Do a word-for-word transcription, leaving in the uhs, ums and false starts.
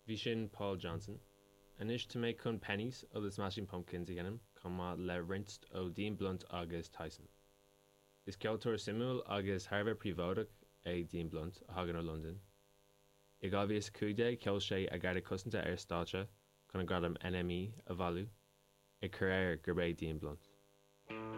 Bhí sin Paul Johnson. Anois tá mé chun Pennies ó The Smashing Pumpkins a sheinm chomh maith le roinnt ó Dean Blunt agus Tyson. Is ceoltóir suimiúil agus thar a bheith príobháideach é Dean Blunt a thagann ó Londain. I dhá mhíle cúig déag cheol sé a Garda Cosanta ar stáitse chun an gradam NME a bhailiú, ag cur air gurb é Dean Blunt.